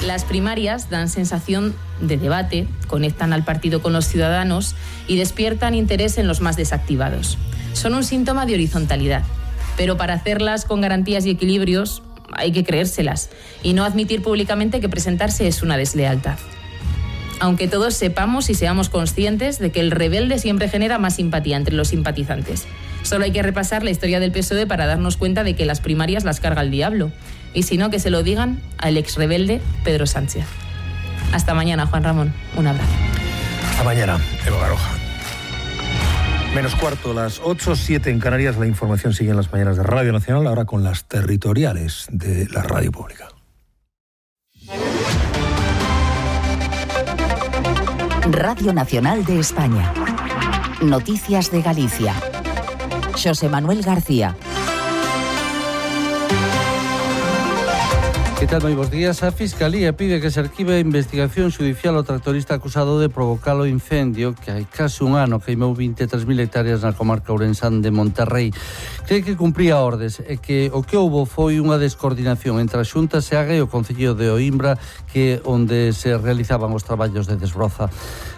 Las primarias dan sensación de debate, conectan al partido con los ciudadanos y despiertan interés en los más desactivados. Son un síntoma de horizontalidad, pero para hacerlas con garantías y equilibrios hay que creérselas y no admitir públicamente que presentarse es una deslealtad. Aunque todos sepamos y seamos conscientes de que el rebelde siempre genera más simpatía entre los simpatizantes. Solo hay que repasar la historia del PSOE para darnos cuenta de que las primarias las carga el diablo. Y si no, que se lo digan al ex rebelde Pedro Sánchez. Hasta mañana, Juan Ramón. Un abrazo. Hasta mañana, Eva Baroja. Menos cuarto, las 8:07 en Canarias. La información sigue en las mañanas de Radio Nacional, ahora con las territoriales de la radio pública. Radio Nacional de España. Noticias de Galicia. José Manuel García. Que tal, moi bons días. A Fiscalía pide que se arquive a investigación xudicial ao tractorista acusado de provocar o incendio que hai case un ano queimou 23.000 hectáreas na comarca ourensán de Monterrey. Cree que cumpría ordes e que o que houbo foi unha descoordinación entre a Xunta Seaga e o Concello de Oimbra, que onde se realizaban os traballos de desbroza.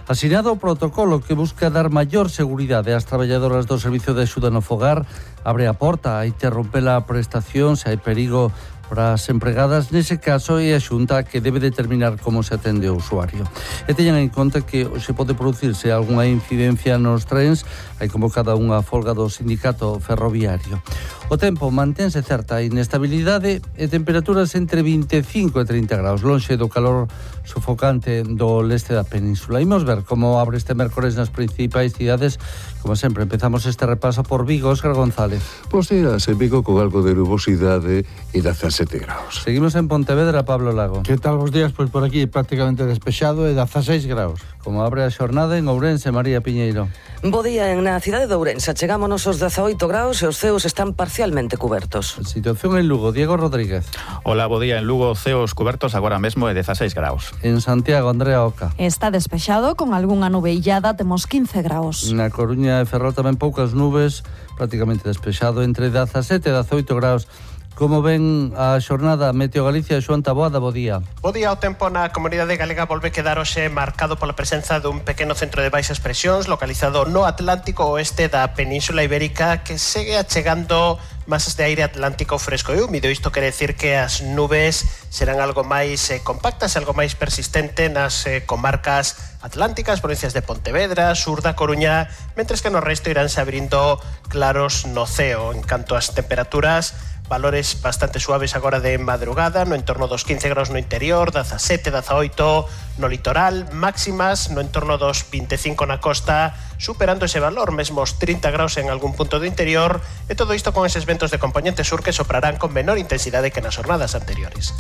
Asinado o protocolo que busca dar maior seguridade ás traballadoras do Servicio de Axuda no Fogar, abre a porta a interromper a prestación se hai perigo para as empregadas. Nese caso é a Xunta que debe determinar como se atende o usuario. E teñan en conta que se pode producirse algunha incidencia nos trens. Hai convocada unha folga do sindicato ferroviario. O tempo mantense certa inestabilidade e temperaturas entre 25 e 30 graus, lonxe do calor sufocante do leste da península. Imos ver como abre este mércores nas principais cidades. Como sempre, empezamos este repaso por Vigo. Óscar González. Pois días en Vigo con algo de nubosidade e 17 graus. Seguimos en Pontevedra, Pablo Lago. Que tal os días? Pois por aquí prácticamente despexado e 16 graus. Como abre a xornada en Ourense, María Piñeiro. Bo día na cidade de Ourense. Chegámonos aos 18 graus e os ceos están parcialmente cubertos. Situación en Lugo, Diego Rodríguez. Hola, bo día en Lugo, ceos cubertos agora mesmo e 16 graus. En Santiago, Andrea Oca. Está despexado con algunha nubeillada, temos 15 graus. Na Coruña e Ferrol tamén poucas nubes, prácticamente despexado, entre 17 e 18 graus. Como ven a xornada Meteo Galicia, Xoán Taboada, bo día. Bo día, o tempo na comunidade galega volve quedar hoxe marcado pola presenza dun pequeno centro de baixas presións localizado no Atlántico oeste da Península Ibérica que segue achegando masas de aire atlántico fresco e húmido. Isto quere decir que as nubes serán algo máis compactas, algo máis persistente nas comarcas atlánticas, provincias de Pontevedra, sur da Coruña, mentres que no resto iránse abrindo claros no ceo. En canto ás temperaturas, valores bastante suaves agora de madrugada, no entorno dos 15 graus no interior, 17, 18 no litoral, máximas no entorno dos 25 na costa, superando ese valor, mesmo os 30 graus en algún punto do interior, e todo isto con eses ventos de componente sur que soprarán con menor intensidade que nas jornadas anteriores.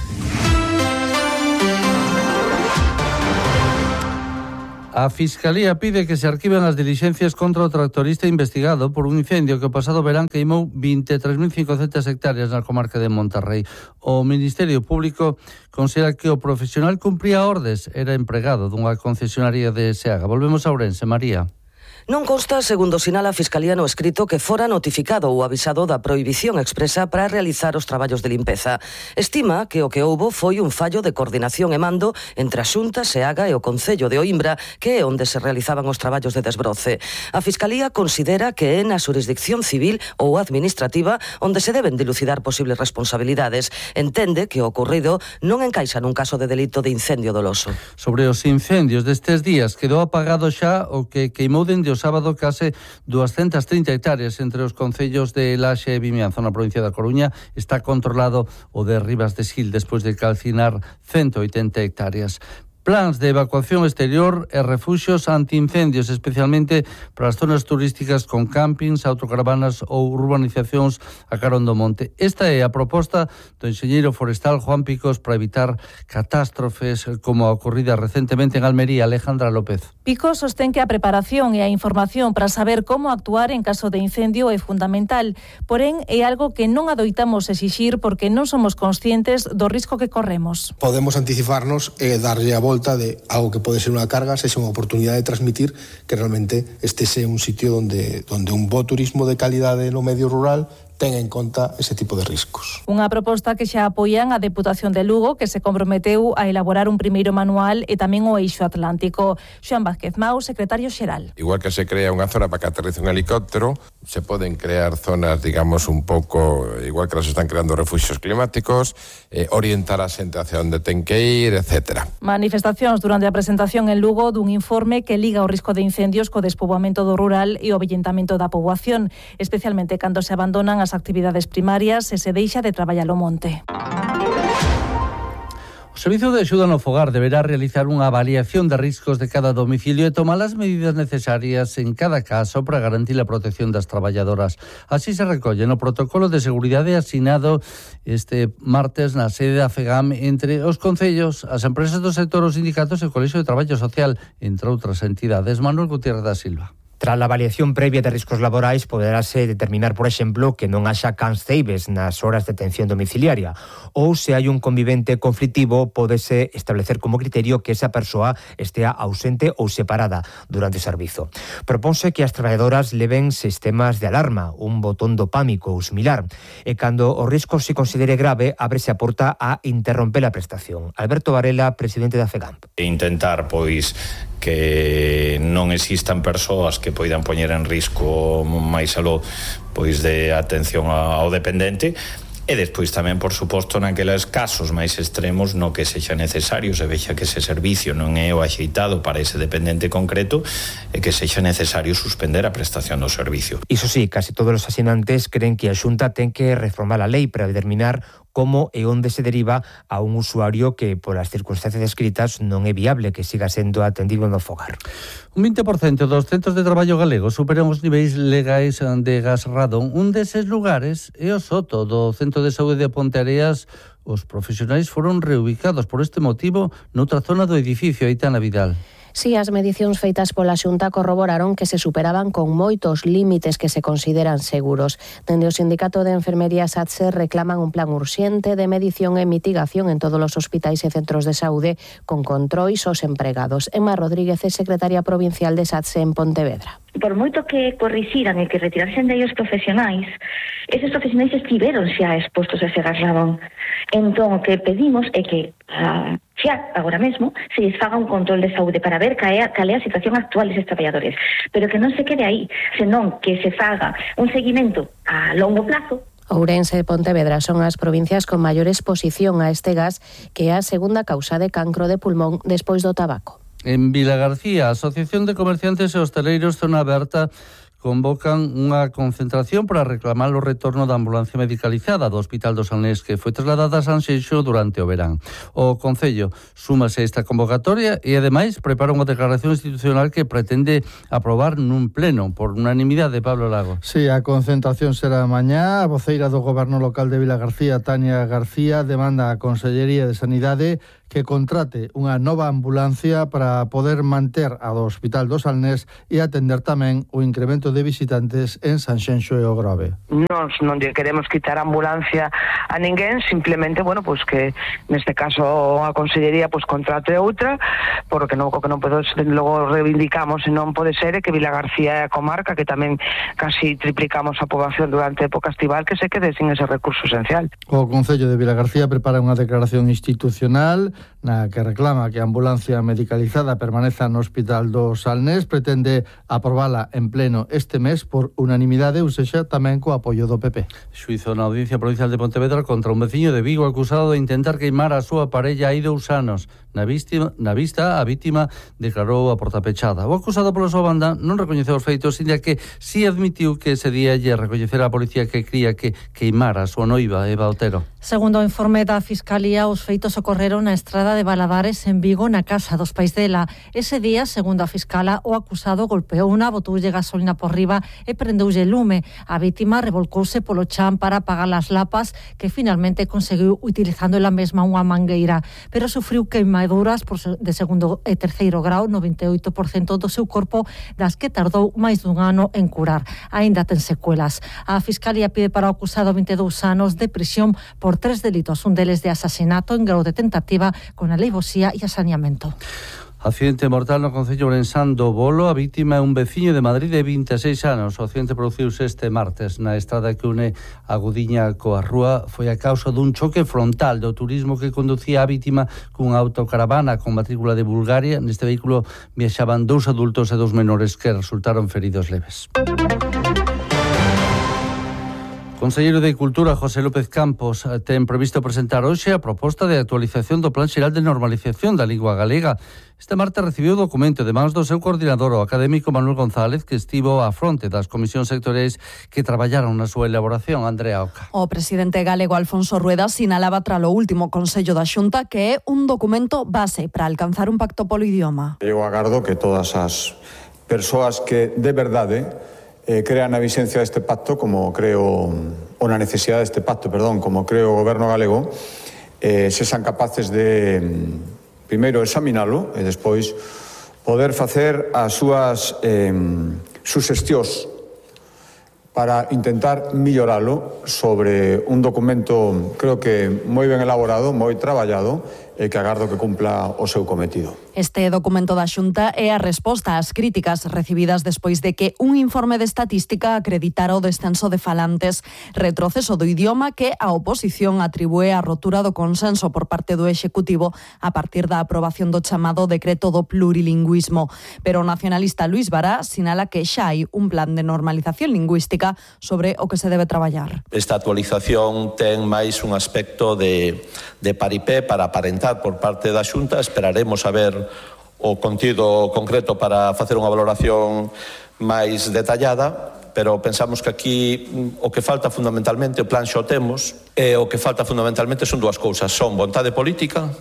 A Fiscalía pide que se arquiven as dilixencias contra o tractorista investigado por un incendio que o pasado verán queimou 23.500 hectáreas na comarca de Monterrey. O Ministerio Público considera que o profesional cumpría ordes, era empregado dunha concesionaria de Seaga. Volvemos a Ourense, María. Non consta, segundo sinala a Fiscalía no escrito, que fora notificado ou avisado da prohibición expresa para realizar os traballos de limpeza. Estima que o que houbo foi un fallo de coordinación e mando entre a Xunta, Seaga e o Concello de Oimbra, que é onde se realizaban os traballos de desbroce. A Fiscalía considera que é na xurisdicción civil ou administrativa onde se deben dilucidar posibles responsabilidades. Entende que o ocorrido non encaixa nun caso de delito de incendio doloso. Sobre os incendios destes días, quedou apagado xa o que queimou dende o sábado case 230 hectáreas entre os concellos de Laxe e Vimianzo na provincia da Coruña. Está controlado o de Ribas de Sil despois de calcinar 180 hectáreas. Plans de evacuación exterior e refuxios antiincendios, especialmente para as zonas turísticas con campings, autocaravanas ou urbanizacións a carón do monte. Esta é a proposta do enxeñeiro forestal Juan Picos para evitar catástrofes como a ocorrida recentemente en Almería. Alejandra López. Picos sostén que a preparación e a información para saber como actuar en caso de incendio é fundamental, porén é algo que non adoitamos exixir porque non somos conscientes do risco que corremos. Podemos anticiparnos e darlle a volta de algo que pode ser unha carga, sexa unha oportunidade de transmitir que realmente este sea un sitio donde un bo turismo de calidade no medio rural ten en conta ese tipo de riscos. Unha proposta que xa apoian a Deputación de Lugo, que se comprometeu a elaborar un primeiro manual, e tamén o Eixo Atlántico. Xoan Vázquez Mau, secretario xeral. Igual que se crea unha zona para que aterrice un helicóptero, se poden crear zonas, digamos, un pouco, igual que se están creando refugios climáticos, orientar a xente hacia onde ten que ir, etc. Manifestacións durante a presentación en Lugo dun informe que liga o risco de incendios co despoboamento do rural e o avellentamento da poboación, especialmente cando se abandonan as actividades primarias e se deixa de traballar o monte. O Servizo de Axuda no Fogar deberá realizar unha avaliación de riscos de cada domicilio e tomar as medidas necesarias en cada caso para garantir a protección das traballadoras. Así se recolle no protocolo de seguridade asinado este martes na sede da FEGAM entre os concellos, as empresas do sector, os sindicatos e o Colexio de Traballo Social, entre outras entidades. Manuel Gutiérrez da Silva. Tras a avaliación previa de riscos laborais, poderase determinar, por exemplo, que non haxa cans ceibes nas horas de atención domiciliaria, ou se hai un convivente conflitivo, pódese establecer como criterio que esa persoa estea ausente ou separada durante o servizo. Proponse que as traballadoras leven sistemas de alarma, un botón do pánico ou similar, e cando o risco se considere grave, ábrese a porta a interromper a prestación. Alberto Varela, presidente da FEGAMP. Intentar, pois, que non existan persoas que poidan poñer en risco máis aló pois de atención ao dependente, e despois tamén, por suposto, naqueles casos máis extremos no que sexa necesario, se vexa que ese servicio non é o axeitado para ese dependente concreto e que sexa necesario suspender a prestación do servicio. Iso sí, casi todos os asinantes creen que a Xunta ten que reformar a lei para determinar como e onde se deriva a un usuario que, polas circunstancias descritas, non é viable que siga sendo atendido no fogar. Un 20% dos centros de traballo galegos superan os niveis legais de gas radón. Un deses lugares é o Soto, do Centro de Saúde de Ponteareas. Os profesionais foron reubicados por este motivo noutra zona do edificio. Aitana Vidal. Si, as medicións feitas pola Xunta corroboraron que se superaban con moitos límites que se consideran seguros. Dende o Sindicato de Enfermería SATSE reclaman un plan urxente de medición e mitigación en todos os hospitais e centros de saúde con controis aos empregados. Emma Rodríguez é secretaria provincial de SATSE en Pontevedra. Por moito que corrixiran e que retirasen de ellos profesionais, eses profesionais estiveron xa expostos a ese gas radón. Entón, o que pedimos é que xa, agora mesmo, se lles faga un control de saúde para ver cal é a situación actual deses traballadores, pero que non se quede aí, senón que se faga un seguimento a longo plazo. Ourense e Pontevedra son as provincias con maior exposición a este gas, que é a segunda causa de cancro de pulmón despois do tabaco. En Vilagarcía, a Asociación de Comerciantes e Hostaleiros Zona Aberta convocan unha concentración para reclamar o retorno da ambulancia medicalizada do Hospital do Salnés, que foi trasladada a Sanxenxo durante o verán. O Concello súmase a esta convocatoria e, ademais, prepara unha declaración institucional que pretende aprobar nun pleno por unanimidade. Pablo Lago. Sí, a concentración será mañá. A voceira do Goberno Local de Vilagarcía, Tania García, demanda á Consellería de Sanidade que contrate unha nova ambulancia para poder manter a do Hospital do Salnés e atender tamén o incremento de visitantes en Sanxenxo e o Grove. Nos non lle queremos quitar a ambulancia a ninguén, simplemente, bueno, pues que neste caso a Consellería pues contrate outra, porque non, o que non podo, logo reivindicamos e non pode ser é que Vilagarcía é a comarca que tamén casi triplicamos a poboación durante a época estival, que se quede sin ese recurso esencial. O Concello de Vilagarcía prepara unha declaración institucional na que reclama que a ambulancia medicalizada permaneza no Hospital do Salnés, pretende aprobala en pleno este mes por unanimidade, ou sexa, tamén co apoio do PP. Xuizo na Audiencia Provincial de Pontevedra contra un veciño de Vigo acusado de intentar queimar a súa parella hai 2 anos. Na vista, a vítima declarou a porta pechada. O acusado pola súa banda non recoñeceu os feitos, inda que si admitiu que ese día lle recoñecera a policía que cría que queimara a súa noiva, Eva Otero. Segundo o informe da Fiscalía, os feitos ocorreron na estrada de Valadares en Vigo, na casa dos pais dela. Ese día, segundo a fiscala, o acusado golpeou unha botoulle gasolina por riba e prendeulle lume. A vítima revolcouse polo chan para apagar as lapas, que finalmente conseguiu utilizando ela mesma unha mangueira, pero sufriu queimaduras de segundo e terceiro grau no 28% do seu corpo, das que tardou máis dun ano en curar. Aínda ten secuelas. A Fiscalía pide para o acusado 22 anos de prisión por 3 delitos, un deles de asasinato en grau de tentativa con alevosía e asaneamento. Accidente mortal no concello ourensán do Bolo. A vítima é un veciño de Madrid de 26 anos. O accidente produciuse este martes na estrada que une a Gudiña coa Rúa. Foi a causa dun choque frontal do turismo que conducía a vítima cunha autocaravana con matrícula de Bulgaria. Neste vehículo viaxaban 2 adultos e 2 menores que resultaron feridos leves. O Conselleiro de Cultura, José López Campos, ten previsto presentar hoxe a proposta de actualización do Plan Xeral de Normalización da Lingua Galega. Este martes recibiu o documento de mans do seu coordinador, o académico Manuel González, que estivo á fronte das comisións sectoriais que traballaron na súa elaboración. Andrea Oca. O presidente galego Alfonso Rueda sinalaba tras o último Consello da Xunta que é un documento base para alcanzar un pacto polo idioma. Eu agardo que todas as persoas que de verdade crean na vixencia deste pacto, como creo, ou na necesidade deste pacto, como creo o goberno galego, sexan capaces de primeiro examinalo e despois poder facer as súas suxestións para intentar milloralo sobre un documento, creo que moi ben elaborado, moi traballado, e que agardo que cumpla o seu cometido. Este documento da Xunta é a resposta ás críticas recibidas despois de que un informe de estatística acreditara o descenso de falantes, retroceso do idioma que a oposición atribúe a rotura do consenso por parte do Executivo a partir da aprobación do chamado decreto do plurilingüismo. Pero o nacionalista Luís Bará sinala que xa hai un plan de normalización lingüística sobre o que se debe traballar. Esta actualización ten máis un aspecto de paripé para aparentar por parte da Xunta. Esperaremos a ver o contido concreto para facer unha valoración máis detallada, pero pensamos que aquí o que falta fundamentalmente, o plan xa o temos, e o que falta fundamentalmente son dúas cousas, son vontade política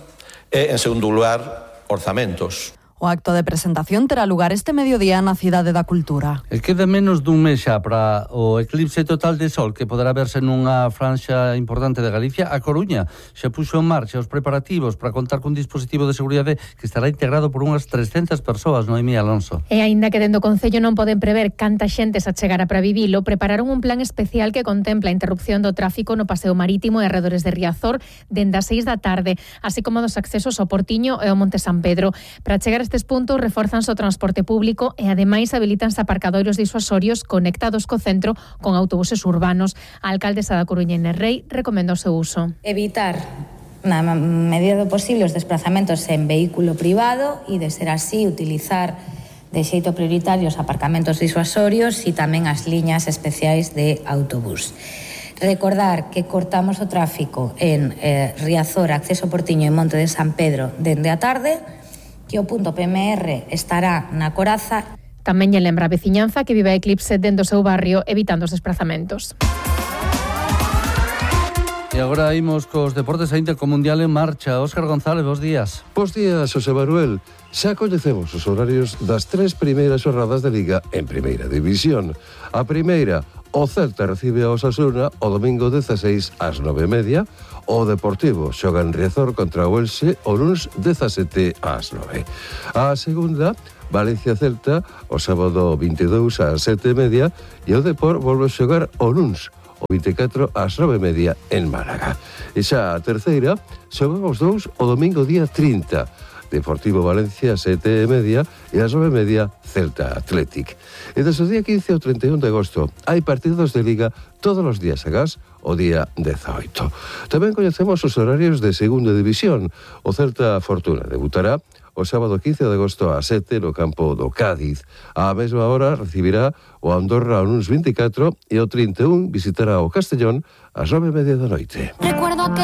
e, en segundo lugar, orzamentos. O acto de presentación terá lugar este mediodía na Cidade da Cultura. E queda menos dun mes xa para o eclipse total de sol que poderá verse nunha franxa importante de Galicia. A Coruña xa puxo en marcha os preparativos para contar cun dispositivo de seguridade que estará integrado por unhas 300 persoas, Noemí Alonso. E aínda que dende o Concello non poden prever canta xente se achegara para vivilo, prepararon un plan especial que contempla a interrupción do tráfico no paseo marítimo e arredores de Riazor dende as 6 da tarde, así como dos accesos ao Portiño e ao Monte San Pedro. Para chegar a estes puntos reforzanse o transporte público e ademais habilitanse aparcadoiros disuasorios conectados co centro con autobuses urbanos. A alcaldesa da Coruña, Inés Rei, recomenda o seu uso. Evitar na medida do posible os desplazamentos en vehículo privado e, de ser así, utilizar de xeito prioritario os aparcamentos disuasorios e tamén as liñas especiais de autobús. Recordar que cortamos o tráfico en Riazor, acceso Portiño e Monte de San Pedro dende a tarde, que o punto PMR estará na Coraza. Tamén lle lembra a veciñanza que vive a eclipse dentro do seu barrio evitando os desplazamentos. E agora imos cos deportes. A Intercomundial en marcha. Óscar González, bos días. Bos días, José Manuel. Xa coñecemos os horarios das 3 primeiras xornadas de Liga en Primeira División. A primeira, o Celta recibe a Osasuna o domingo 16 ás 9:30. O Deportivo xoga en Riazor contra o Elxe o luns 17 ás 9. A segunda, Valencia-Celta o sábado 22 ás 7:30 e o Depor volve a xogar o luns o 24 ás 9:30 en Málaga. E xa a terceira, xogan os dous o domingo día 30. Deportivo Valencia 7:30 e ás 9:30 Celta Athletic. E desde o día 15 ao 31 de agosto hai partidos de Liga todos os días agás o día 18. Tamén coñecemos os horarios de Segunda División. O Celta Fortuna debutará o sábado 15 de agosto ás 7 no campo do Cádiz. Á mesma hora recibirá o Andorra o luns 24 e o 31 visitará o Castellón ás 9:30 da noite. Recuerdo que